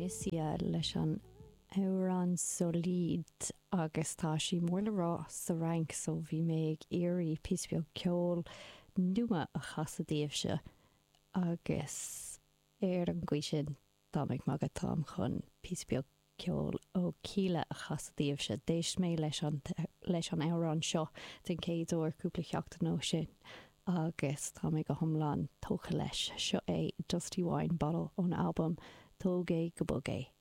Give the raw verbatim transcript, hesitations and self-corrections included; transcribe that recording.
Misia leis an amhrán Solide agus tá sí mór le rá sa Fhrainc so bhí mé ag iarraidh píosa beag ceol nua a chasadh daoibhse agus ar an gcaoi sin tá mé ag magadh táim chun píosa beag ceol ó Kíla a chasadh daoibhse. D'éist mé leis an leis an amhrán seo den chéad uair cúpla seachtain ó shin agus tá mé go hiomlán tógtha leis seo é Dusty Wine Bottle ón albam Tóg é go Bog é.